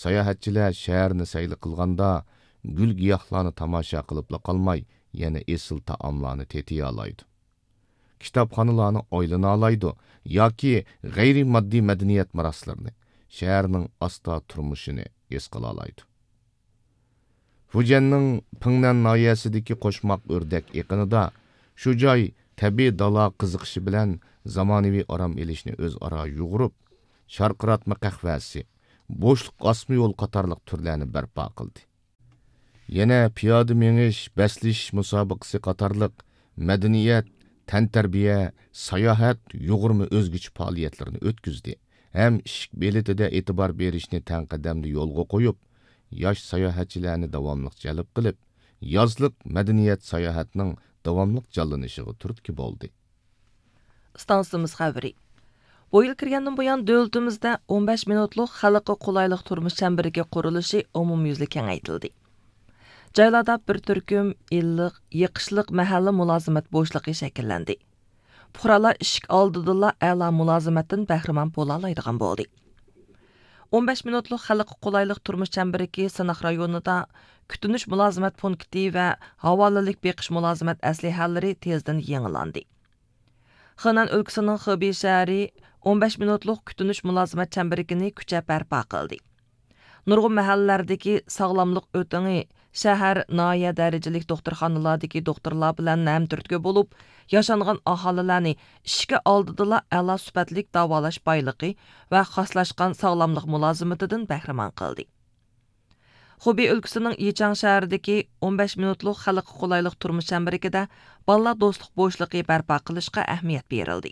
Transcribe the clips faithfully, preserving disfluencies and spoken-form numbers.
ساياھەتچىلەر شەھەرنى سەيلە قىلغاندا، گۈل-گىياھلارنى تاماشا قىلىپلا قالماي، يەنە ئېسىل تائاملارنى تېتىيالايدۇ. كىتابخانىلارنى ئايلىنالايدۇ ياكى غەيرىي ماددىي مەدەنىيەت مىراسلىرىنى، شەھەرنىڭ ئاستا تۇرمۇشىنى ھېس قىلالايدۇ. فۇجيەننىڭ پىڭنەن ناھىيەسىدىكى قوشماق ئۆردەك ئېقىنىدا شۇ جاي تەبىئىي دالا قىزىقىشى بىلەن زامانىۋى ئارام ئېلىشنى ئۆزئارا يۇغۇرۇپ، شارقىراتما قەھۋەسى، بوشلۇق ئاسما يول قاتارلىق تۈرلەرنى بەرپا قىلدى. يەنە پىيادە مېڭىش، بەسلىشىش مۇسابىقىسى قاتارلىق مەدەنىيەت، تەنتەربىيە، ساياھەت يۇغۇرما ئۆزگىچە پائالىيەتلىرىنى ئۆتكۈزدى ھەم ئىشىك بېلىتىدە ئېتىبار بېرىشنى تەڭ قەدەمدە يولغا قويۇپ، ياش ساياھەتچىلەرنى داۋاملىق جەلپ قىلىپ، يازلىق مەدەنىيەت ساياھەتنىڭ داۋاملىق جانلىنىشىغا تۈرتكە بولدى. ئىستانسىمىز خەۋىرى. بۇ يىل كىرگەندىن بۇيان، دۆلىتىمىزدە ئون بەش مىنۇتلۇق خەلققە قولايلىق تۇرمۇش چەمبىرىكى قۇرۇلۇشى ئومۇميۈزلۈك كېڭەيتىلدى. جايلاردا بىر تۈركۈم ئىللىق، يېقىشلىق مەھەللە مۇلازىمەت بوشلۇقى شەكىللەندى. پۇقرالار ئىشىك ئالدىدىلا ئەلا مۇلازىمەتتىن بەھرىمەن بولالايدىغان بولدى. ئون بەش مىنۇتلۇق خەلققە قولايلىق تۇرمۇش چەمبىرىكى سىناق رايونىدا كۈتۈنۈش مۇلازىمەت پونكىتى ۋە ھاۋالىلىك بېقىش مۇلازىمەت ئەسلىھەلىرى تېزدىن يېڭىلاندى. خېنەن ئۆلكىسىنىڭ خېبېي شەھىرى ئون بەش مىنۇتلۇق كۈتۈنۈش مۇلازىمەت چەمبىرىكىنى كۈچەپ بەرپا قىلدى. نۇرغۇن مەھەللىلەردىكى ساغلاملىق ئۆتىڭى شەھەر، ناھىيە دەرىجىلىك دوختۇرخانىلار دىكى دوختۇرلار بىلەن ھەمتۈرتكە بولۇپ، ياشانغان ئاھالىلەرنى ئىشىكى ئالدىدىلا ئەلا سۈپەتلىك داۋالاش بايلىقى ۋە خاسلاشقان ساغلاملىق مۇلازىمىتىدىن بەھرىمەن قىلدى. خۇبېي ئۆلكىسىنىڭ يىچاڭ شەھىرىدىكى ئون بەش مىنۇتلۇق خەلققە قولايلىق تۇرمۇش چەمبىرىكىدە بالىلار دوستلۇق بوشلۇقى بەرپا قىلىشقا ئەھمىيەت بېرىلدى.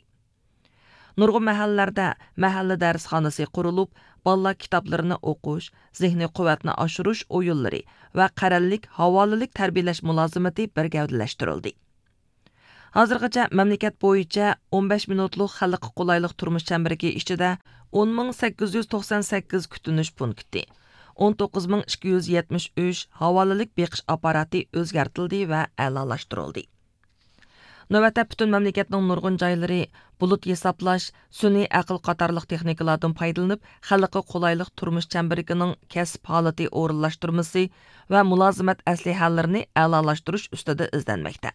نۇرغۇن مەھەللىلەردە مەھەللە دەرسخانىسى قۇرۇلۇپ، بالىلار كىتابلىرىنى ئوقۇش، زېھنىي قۇۋۋەتنى ئاشۇرۇش ئويۇنلىرى ۋە قەرەللىك، ھاۋالىلىك تەربىيەلەش مۇلازىمىتى بىر گەۋدىلەشتۈرۈلدى. ھازىرغىچە مەملىكەت بويىچە ئون بەش مىنۇتلۇق خەلققە قولايلىق تۇرمۇش چەمبىرىكى ئىچىدە ئون مىڭ سەككىز يۈز توقسان سەككىز كۈتۈنۈش پونكىتى، ئون توققۇز مىڭ ئىككى يۈز يەتمىش ئۈچ ھاۋالىلىك بېقىش ئاپپاراتى ئۆزگەرتىلدى ۋە ئەلالاشتۇرۇلدى. نۆۋەتتە پۈتۈن مەملىكەتنىڭ نۇرغۇن جايلىرى بۇلۇت ھېسابلاش، سۈنئىي ئەقىل قاتارلىق تېخنىكىلاردىن پايدىلىنىپ، خەلققە قولايلىق تۇرمۇش چەمبىرىكىنىڭ كەسىپ ھالىتى ئورۇنلاشتۇرمىسى ۋە مۇلازىمەت ئەسلىھەلىرىنى ئەلالاشتۇرۇش ئۈستىدە ئىزدەنمەكتە.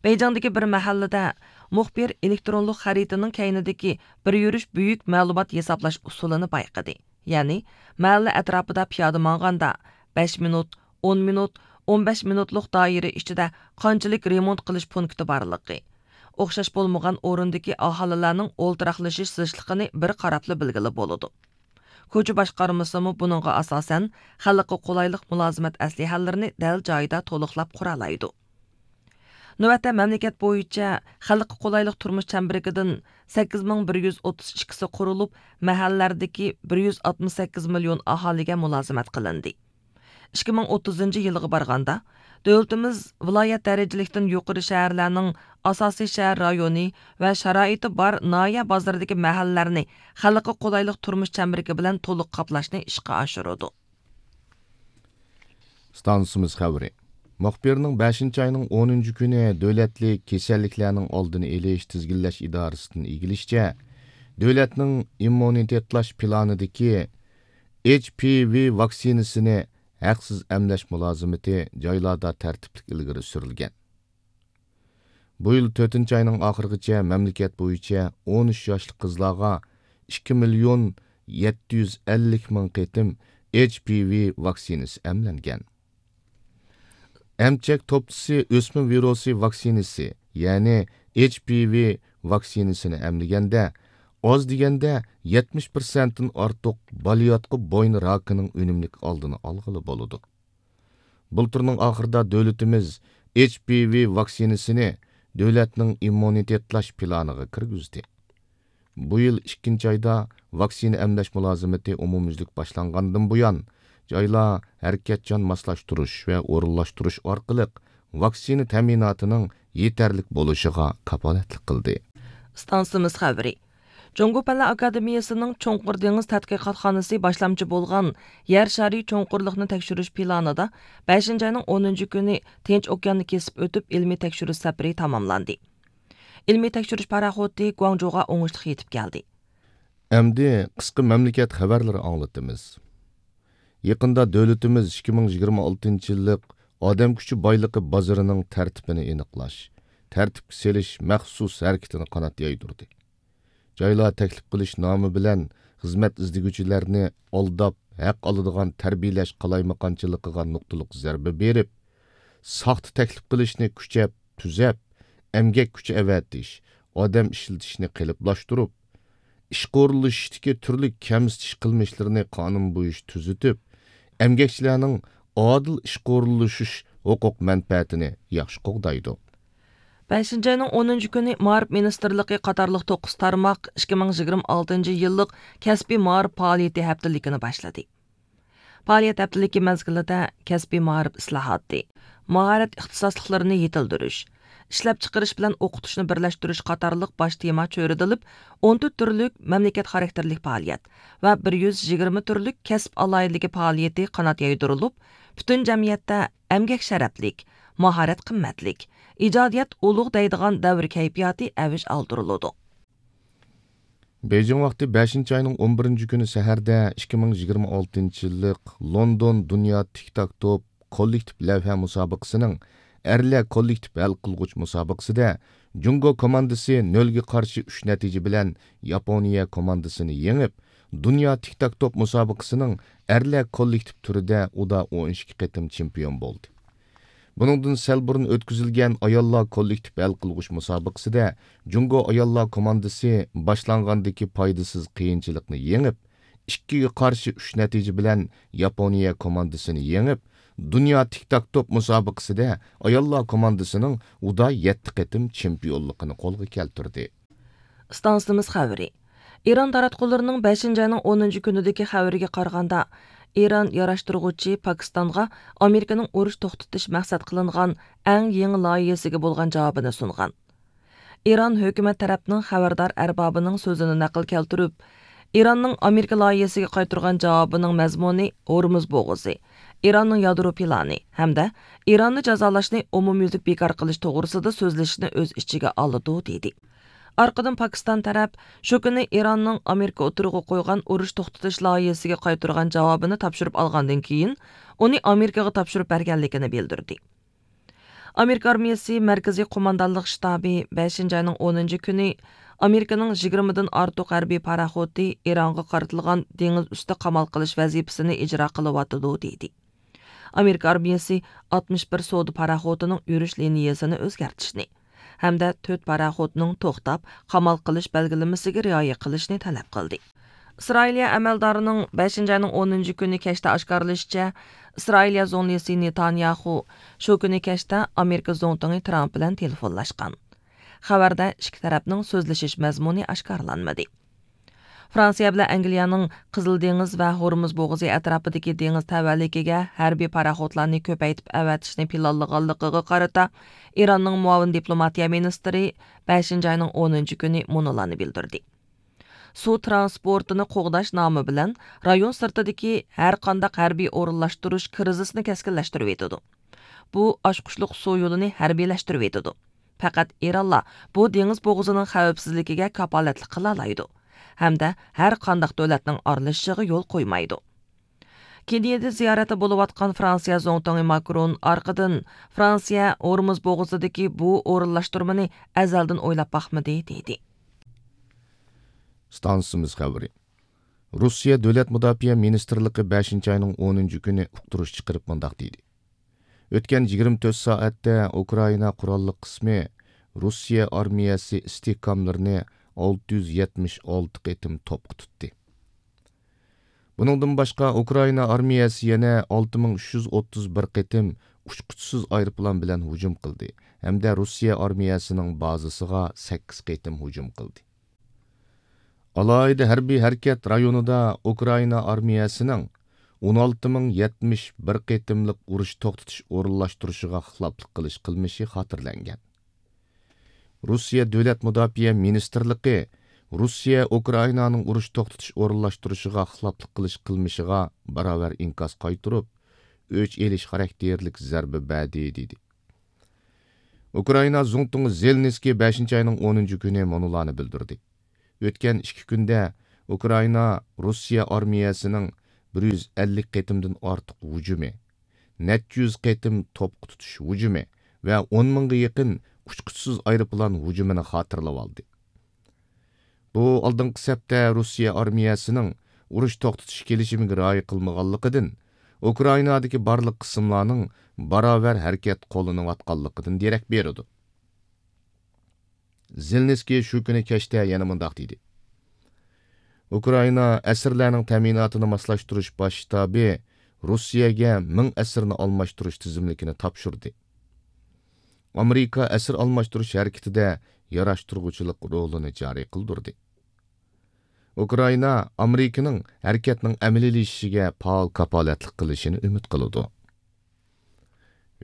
بېيجىڭدىكى بىر مەھەللىدە مۇخبىر ئېلېكترونلۇق خەرىتىنىڭ كەينىدىكى بىر يۈرۈش بۈيۈك مەلۇمات ھېسابلاش ئۇسۇلىنى بايقىدى. يەنى، مەھەللە ئەتراپىدا پىيادە ماڭغاندا، بەش مىنۇت، ئون مىنۇت، ئون بەش مىنۇتلۇق دائىرە ئىچىدە قانچىلىك رېمونت قىلىش پونكىتى بارلىقى، ئوخشاش بولمىغان ئورۇندىكى ئاھالىلەرنىڭ ئولتۇراقلىشىش زىچلىقىنى بىر قاراپلا بىلگىلى بولىدۇ. كوچا باشقارمىسىمۇ بۇنىڭغا ئاساسەن، خەلققە قولايلىق مۇلازىمەت ئەسلىھەلىرىنى دەل جايىدا تولۇقلاپ قۇرالايدۇ. نۆۋەتتە مەملىكەت بويىچە خەلققە قولايلىق تۇرمۇش چەمبىرىكىدىن سەككىز مىڭ بىر يۈز ئوتتۇز ئىككىسى قۇرۇلۇپ، مەھەللىلەردىكى بىر يۈز ئاتمىش سەككىز مىليون ئاھالىگە مۇلازىمەت قىلىندى. ئىككى مىڭ ئوتتۇزىنچى يىلغا بارغاندا، دۆلىتىمىز ۋىلايەت دەرىجىلىكتىن يۇقىرى شەھەرلەرنىڭ ئاساسىي شەھەر رايونى ۋە شارائىتى بار ناھىيە بازىرىدىكى مەھەللىلەرنى خەلققە قولايلىق تۇرمۇش چەمبىرىكى بىلەن تولۇق قاپلاشنى ئىشقا ئاشۇرىدۇ. ئىستانسىمىز خەۋىرى. مۇخبىرنىڭ بەشىنچى ئاينىڭ ئونىنچى كۈنى دۆلەتلىك كېسەللىكلەرنىڭ ئالدىنى ئېلىش، تىزگىنلەش ئىدارىسىدىن ئىگىلىشىچە، دۆلەتنىڭ ئىممۇنىتېتلاش پىلانىدىكى ئېچ پى ۋى ۋاكسىنىسىنى ھەقسىز ئەملەش مۇلازىمىتى جايلاردا تەرتىپلىك ئىلگىرى سۈرۈلگەن. بۇ يىل تۆتىنچى ئاينىڭ ئاخىرىغىچە مەملىكەت بويىچە ئون ئۈچ ياشلىق قىزلارغا ئىككى مىليون يەتتە يۈز ئەللىك مىڭ قېتىم ئېچ پى ۋى ۋاكسىنىسى ئەملەنگەن. ئەمچەك توپچىسى ئۆسمە ۋىرۇسى ۋاكسىنىسى، يەنى ئېچ پى ۋى ۋاكسىنىسىنى ئەملىگەندە، ئاز دېگەندە يەتمىش پىرسەنتتىن ئارتۇق بالىياتقۇ بوينى راكىنىڭ ئۈنۈملۈك ئالدىنى ئالغىلى بولىدۇ. بۇلتۇرنىڭ ئاخىرىدا دۆلىتىمىز ئېچ پى ۋى ۋاكسىنىسىنى دۆلەتنىڭ ئىممۇنىتېتلاش پىلانىغا كىرگۈزدى. بۇ يىل ئىككىنچى ئايدا ۋاكسىنا ئەملەش مۇلازىمىتى ئومۇميۈزلۈك باشلانغاندىن بۇيان، جايلار ھەرىكەتچان ماسلاشتۇرۇش ۋە ئورۇنلاشتۇرۇش ئارقىلىق ۋاكسىنا تەمىناتىنىڭ يېتەرلىك بولۇشىغا كاپالەتلىك قىلدى. ئىستانسىمىز خەۋىرى. جۇڭگو پەنلەر ئاكادېمىيەسىنىڭ چوڭقۇر دېڭىز تەتقىقاتخانىسى باشلامچى بولغان يەر شارى چوڭقۇرلۇقنى تەكشۈرۈش پىلانىدا بەشىنچى ئاينىڭ ئونىنچى كۈنى تىنچ ئوكياننى كېسىپ ئۆتۈپ ئىلمىي تەكشۈرۈش سەپىرى تاماملاندى. ئىلمىي تەكشۈرۈش پاراخوتى گۇاڭجۇغا ئوڭۇشلۇق يېتىپ كەلدى. ئەمدى قىسقا مەملىكەت خەۋەرلىرى ئاڭلىتىمىز. يېقىندا دۆلىتىمىز ئىككى مىڭ يىگىرمە ئالتىنچى يىللىق ئادەم كۈچى بايلىقى بازىرىنىڭ تەرتىپىنى ئېنىقلاش، تەرتىپكە سېلىش مەخسۇس ھەرىكىتىنى قانات يايدۇردى. جايلار تەكلىپ قىلىش نامى بىلەن خىزمەت ئىزدىگۈچىلەرنى ئالداپ، ھەق ئالىدىغان تەربىيەلەش قالايمىقانچىلىقىغا نۇقتىلىق زەربە بېرىپ، ساختا تەكلىپ قىلىشنى كۈچەپ، تۈزەپ، ئەمگەك كۈچى ئەۋەتىش، ئادەم ئىشلىتىشنى قېلىپلاشتۇرۇپ، ئىشقا ئورۇنلىشىشتىكى تۈرلۈك كەمسىتىش قىلمىشلىرىنى قانۇن بويىچە تۈزىتىپ، ئەمگەكچىلەرنىڭ ئادىل ئىشقا ئورۇنلىشىش ھوقۇق مەنپەئەتىنى ياخشى قوغدايدۇ. بەشىنچى ئاينىڭ ئونىنچى كۈنى مائارىپ مىنىستىرلىقى قاتارلىق توققۇز تارماق ئىككى مىڭ يىگىرمە ئالتىنچى يىللىق كەسپىي مائارىپ پائالىيىتى ھەپتىلىكىنى باشلىدى. پائالىيەت ھەپتىلىكى مەزگىلىدە كەسپىي مائارىپ ئىسلاھاتى، ماھارەت ئىختىساسلىقلىرىنى يېتىلدۈرۈش، ئىشلەپچىقىرىش بىلەن ئوقۇتۇشنى بىرلەشتۈرۈش قاتارلىق باش تېما چۆرىدىلىپ، ئون تۆت تۈرلۈك مەملىكەت خاراكتېرلىك پائالىيەت ۋە بىر يۈز يىگىرمە تۈرلۈك كەسىپ ئالاھىدىلىكى پائالىيىتى قانات يايدۇرۇلۇپ، پۈتۈن جەمئىيەتتە ئەمگەك شەرەپلىك، ماھارەت قىممەتلىك، ئىجادىيەت ئۇلۇغ دەيدىغان دەۋر كەيپىياتى ئەۋج ئالدۇرۇلىدۇ. بېيجىڭ ۋاقتى بەشىنچى ئاينىڭ ئون بىرىنچى كۈنى سەھەردە ئىككى مىڭ يىگىرمە ئالتىنچى يىللىق لوندون دۇنيا تىك تاك توپ كوللېكتىپ لەۋھە مۇسابىقىسىنىڭ ئەرلەر كوللېكتىپ ھەل قىلغۇچ مۇسابىقىسىدە جۇڭگو كوماندىسى نۆلگە قارشى ئۈچ نەتىجە بىلەن ياپونىيە كوماندىسىنى يېڭىپ، دۇنيا تىك تاك توپ مۇسابىقىسىنىڭ ئەرلەر كوللېكتىپ تۈرىدە ئۇدا ئون ئىككى قېتىم چېمپىيون بولدى. بۇنىڭدىن سەل بۇرۇن ئۆتكۈزۈلگەن ئاياللار كوللېكتىپ ھەل قىلغۇچ مۇسابىقىسىدە جۇڭگو ئاياللار كوماندىسى باشلانغاندىكى پايدىسىز قىيىنچىلىقنى يېڭىپ، ئىككىگە قارشى ئۈچ نەتىجە بىلەن ياپونىيە كوماندىسىنى يېڭىپ، دۇنيا تىك تاك توپ مۇسابىقىسىدە ئاياللار كوماندىسىنىڭ ئۇدا يەتتە قېتىم چېمپىيونلۇقىنى قولغا كەلتۈردى. ئىستانسىمىز خەۋىرى. ئىران تاراتقۇلىرىنىڭ بەشىنچى ئاينىڭ ئونىنچى كۈنىدىكى خەۋىرىگە قارىغاندا، ئىران ياراشتۇرغۇچى پاكىستانغا ئامېرىكىنىڭ ئۇرۇش توختىتىش مەقسەت قىلىنغان ئەڭ يېڭى لايىھىسىگە بولغان جاۋابىنى سۇنغان. ئىران ھۆكۈمەت تەرەپنىڭ خەۋەردار ئەربابىنىڭ سۆزىنى نەقىل كەلتۈرۈپ، ئىراننىڭ ئامېرىكا لايىھىسىگە قايتۇرغان جاۋابىنىڭ مەزمۇنى ھورمۇز بوغۇزى، ئىراننىڭ يادرو پىلانى ھەمدە ئىراننى جازالاشنى ئومۇميۈزلۈك بىكار قىلىش توغرىسىدا سۆزلىشىشنى ئۆز ئىچىگە ئالىدۇ، دېدى. ئارقىدىن پاكىستان تەرەپ شۇ كۈنى ئىراننىڭ ئامېرىكا ئوتتۇرىغا قويغان ئۇرۇش توختىتىش لايىھىسىگە قايتۇرغان جاۋابىنى تاپشۇرۇپ ئالغاندىن كېيىن، ئۇنى ئامېرىكىغا تاپشۇرۇپ بەرگەنلىكىنى بىلدۈردى. ئامېرىكا ئارمىيىسى مەركىزىي قوماندانلىق شتابى بەشىنچى ئاينىڭ ئونىنچى كۈنى ئامېرىكىنىڭ يىگىرمىدىن ئارتۇق ھەربىي پاراخوتى ئىرانغا قارىتىلغان دېڭىز ئۈستى قامال قىلىش ۋەزىپىسىنى ئىجرا قىلىۋاتىدۇ، دېدى. ئامېرىكا ئارمىيىسى ئاتمىش بىر سودا پاراخوتىنىڭ يۈرۈش لىنىيەسىنى ئۆزگەرتىشنى ھەمدە تۆت پاراخوتنىڭ توختاپ، قامال قىلىش بەلگىلىمىسىگە رىئايە قىلىشنى تەلەپ قىلدى. ئىسرائىلىيە ئەمەلدارىنىڭ بەشىنچى ئاينىڭ ئونىنچى كۈنى كەچتە ئاشكارىلىشىچە، ئىسرائىلىيە زۇڭلىسى نېتانياخۇ شۇ كۈنى كەچتە ئامېرىكا زۇڭتۇڭى ترامپ بىلەن تېلېفونلاشقان. خەۋەردە ئىككى تەرەپنىڭ سۆزلىشىش مەزمۇنى ئاشكارىلانمىدى. فرانسىيە بىلەن ئەنگلىيەنىڭ قىزىل دېڭىز ۋە ھورمۇز بوغۇزى ئەتراپىدىكى دېڭىز تەۋەلىكىگە ھەربىي پاراخوتلارنى كۆپەيتىپ ئەۋەتىشنى پىلانلىغانلىقىغا قارىتا، ئىراننىڭ مۇئاۋىن دىپلوماتىيە مىنىستىرى بەشىنچى ئاينىڭ ئونىنچى كۈنى مۇنۇلارنى بىلدۈردى. سۇ ترانسپورتىنى قوغداش نامى بىلەن رايون سىرتىدىكى ھەرقانداق ھەربىي ئورۇنلاشتۇرۇش كىرىزىسنى كەسكىنلەشتۈرۈۋېتىدۇ. بۇ ئاچقۇچلۇق سۇ يولىنى ھەربىيلەشتۈرۈۋېتىدۇ. پەقەت ئىرانلا بۇ دېڭىز بوغۇزىنىڭ خەۋپسىزلىكىگە كاپالەتلىك قىلالايدۇ ھەمدە ھەر قانداق دۆلەتنىڭ ئارىلىشىشىغا يول قويمايدۇ. كېنىيەدە زىيارەتتە بولۇۋاتقان فرانسىيە زۇڭتۇڭى ماكرون ئارقىدىن، فرانسىيە ھورمۇز بوغۇزىدىكى بۇ ئورۇنلاشتۇرمىنى ئەزەلدىن ئويلاپ باقمىدى، دېدى. ئىستانسىمىز خەۋىرى. روسىيە دۆلەت مۇداپىئە مىنىستىرلىقى بەشىنچى ئاينىڭ ئونىنچى كۈنى ئۇقتۇرۇش چىقىرىپ مۇنداق دېدى: ئۆتكەن يىگىرمە تۆت سائەتتە ئۇكرائىنا قوراللىق قىسمى روسىيە ئارمىيەسى ئىستىھكاملىرىنى ئالتە يۈز يەتمىش ئالتە قېتىم توپقا تۇتتى. بۇنىڭدىن باشقا، ئۇكرائىنا ئارمىيەسى يەنە ئالتە مىڭ ئۈچ يۈز ئوتتۇز بىر قېتىم ئۇچقۇچىسىز ئايروپىلان بىلەن ھۇجۇم قىلدى ھەمدە روسىيە ئارمىيەسىنىڭ بازىسىغا سەككىز قېتىم ھۇجۇم قىلدى. ئالاھىدە ھەربىي ھەرىكەت رايونىدا ئۇكرائىنا ئارمىيەسىنىڭ ئون ئالتە مىڭ يەتمىش بىر قېتىملىق ئۇرۇش توختىتىش ئورۇنلاشتۇرۇشىغا خىلاپلىق قىلىش قىلمىشى خاتىرىلەنگەن. روسىيە دۆلەت مۇداپىئە مىنىستىرلىقى روسىيە ئۇكرائىنانىڭ ئۇرۇش توختىتىش ئورۇنلاشتۇرۇشىغا خىلاپلىق قىلىش قىلمىشىغا باراۋەر ئىنكاس قايتۇرۇپ، ئۆچ ئېلىش خاراكتېرلىك زەربە بەردى، دېدى. ئۇكرائىنا زۇڭتۇڭى زېلېنسكىي بەشىنچى ئاينىڭ ئونىنچى كۈنى مۇنۇلارنى بىلدۈردى: ئۆتكەن ئىككى كۈندە ئۇكرائىنا روسىيە ئارمىيەسىنىڭ بىر يۈز ئەللىك قېتىمدىن ئارتۇق ھۇجۇمى، نەچچە يۈز قېتىم توپقا تۇتۇش ھۇجۇمى ۋە ئون مىڭغا يېقىن ئۇچقۇچىسىز ئايروپىلان ھۇجۇمىنى خاتىرىلىۋالدى. بۇ ئالدىنقى سەپتە روسىيە ئارمىيەسىنىڭ ئۇرۇش توختىتىش كېلىشىمىگە رىئايە قىلمىغانلىقىدىن، ئۇكرائىنادىكى بارلىق قىسىملارنىڭ باراۋەر ھەرىكەت قوللىنىۋاتقانلىقىدىن دېرەك بېرىدۇ. زېلېنسكىي شۇ كۈنى كەچتە يەنە مۇنداق دېدى: ئۇكرائىنا ئەسىرلەرنىڭ تەمىناتىنى ماسلاشتۇرۇش باش شتابى روسىيەگە مىڭ ئەسىرنى ئالماشتۇرۇش تىزىملىكىنى تاپشۇردى. ئامېرىكا ئەسىر ئالماشتۇرۇش ھەرىكىتىدە ياراشتۇرغۇچىلىق رولىنى جارى قىلدۇردى. ئۇكرائىنا ئامېرىكىنىڭ ھەرىكەتنىڭ ئەمەلىيلىشىشىگە پائال كاپالەتلىك قىلىشىنى ئۈمىد قىلىدۇ.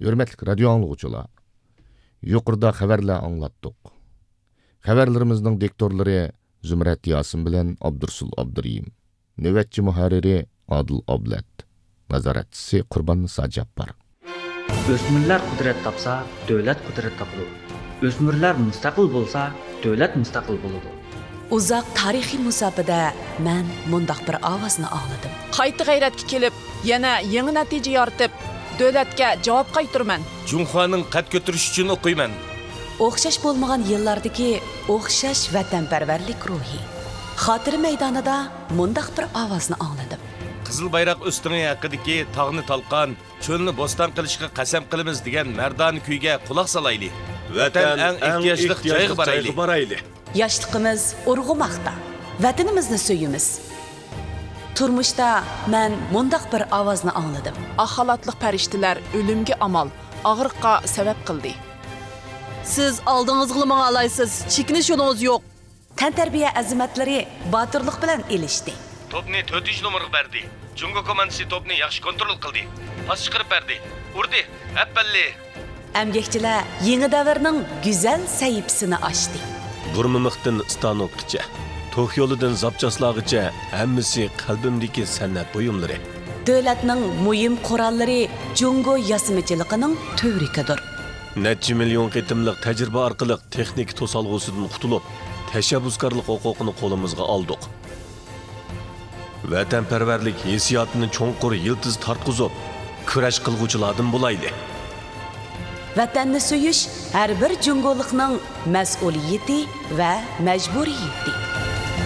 ھۆرمەتلىك رادىيو ئاڭلىغۇچىلار، يۇقىرىدا خەۋەرلەر ئاڭلاتتۇق. خەۋەرلىرىمىزنىڭ دىكتورلىرى زۇمرەت ياسىن بىلەن ئابدۇرسۇل ئابدۇرېھىم. نۆۋەتچى مۇھەررىرى ئادىل ئابلەت. نازارەتچىسى قۇرباننىسا جاپپار. ئۆسمۈرلەر قۇدرەت تاپسا، دۆلەت قۇدرەت تاپىدۇ. ئۆسمۈرلەر مۇستەقىل بولسا، دۆلەت مۇستەقىل بولىدۇ. ئۇزاق تارىخىي مۇساپىدە مەن مۇنداق بىر ئاۋازنى ئاڭلىدىم. قايتا غەيرەتكە كېلىپ، يەنە يېڭى نەتىجە يارىتىپ، دۆلەتكە جاۋاب قايتۇرىمەن. جۇڭخۇانىڭ قەد كۆتۈرۈشى ئۈچۈن ئوقۇيمەن. ئوخشاش بولمىغان يىللاردىكى ئوخشاش ۋەتەنپەرۋەرلىك روھى. خاتىرە مەيدانىدا مۇنداق بىر ئاۋازنى ئاڭلىدىم. قىزىل بايراق ئۆستىڭى ھەققىدىكى تاغنى تالقان، چۆلنى بوستان قىلىشقا قەسەم قىلىمىز دېگەن مەردانە كۈيگە قۇلاق سالايلى. ۋەتەن ئەڭ ئېھتىياجلىق جايغا بارايلى. ياشلىقىمىز ئۇرغۇماقتا. ۋەتىنىمىزنى سۆيىمىز. تۇرمۇشتا مەن مۇنداق بىر ئاۋازنى ئاڭلىدىم. ئاق خالاتلىق پەرىشتىلەر ئۆلۈمگە ئامال، ئاغرىققا سەۋەب قىلدى. سىز ئالدىڭىزغىلا ماڭالايسىز، چېكىنىش يولىڭىز يوق. تەنتەربىيە ئەزىمەتلىرى باتۇرلۇق بىلەن ئېلىشتى. توپنى تۆتىنچى نومۇرغا بەردى. جۇڭگو كوماندىسى توپنى ياخشى كونترول قىلدى. پاس چىقىرىپ بەردى. ئۇردى. ئەپپەللى! ئەمگەكچىلەر يېڭى دەۋرنىڭ گۈزەل سەھىپىسىنى ئاچتى. بۇرما مىختىن ستانوكقىچە، توك يولىدىن زاپچاسلارغىچە ھەممىسى قەلبىمدىكى سەنئەت بۇيۇملىرى. دۆلەتنىڭ مۇھىم قوراللىرى جۇڭگو ياسىمىچىلىقىنىڭ تۈۋرۈكىدۇر. نەچچە مىليون قېتىملىق تەجرىبە ئارقىلىق تېخنىكا توسالغۇسىدىن قۇتۇلۇپ، تەشەببۇسكارلىق ھوقۇقىنى قولىمىزغا ئالدۇق. ۋەتەنپەرۋەرلىك ھېسسىياتىنى چوڭقۇر يىلتىز تارتقۇزۇپ، كۈرەش قىلغۇچىلاردىن بولايلى. ۋەتەننى سۆيۈش ھەر بىر جۇڭگولۇقنىڭ مەسئۇلىيىتى ۋە مەجبۇرىيىتى.